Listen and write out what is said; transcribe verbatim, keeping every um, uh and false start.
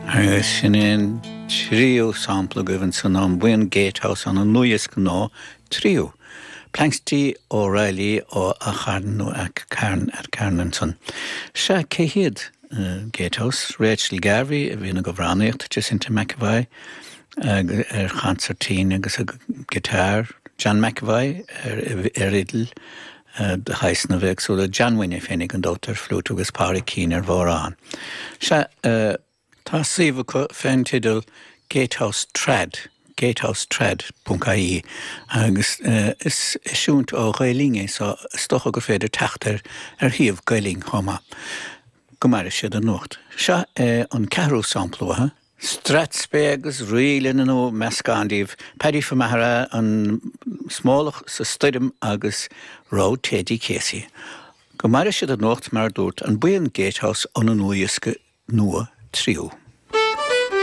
Agus sin an tríú sampla agaibh ansan ón mbuíon Gatehouse óna ndlúthdhiosca nua Tríú. Planxty O'Reilly ó Acharn nó Carn at Carn ansan. Sea cé hiad uh, Gatehouse, Rachel Garvey a bhíonn ag amhránaíocht Jacinta McAvoy ar chansairtín agus a guitar, John McAvoy ar, ar fhidil uh, de shaghsanna éagsúla John Wynne féinig an dótar flute agus Pádraig Keane ar bhodhrán. Sea uh, tá suíomh acu fén teideal Gatehouse Trad. gatehousetrad.ie agus uh, is eisiúint ó Ghael-Linn é so is dócha gur féidir teacht air ar shuíomh Gael-Linn chomh maith. Go maire siad an nuacht. Seo é an ceathrú sampla uathu. Strathspey agus ríleanna nó meascán díobh, Paddy Famathara an smólach sa stoirm agus Road Teddy Casey. Go maire siad an nuacht mar dúirt an buíon Gatehouse óna ndlúthdhiosca nua Tríú.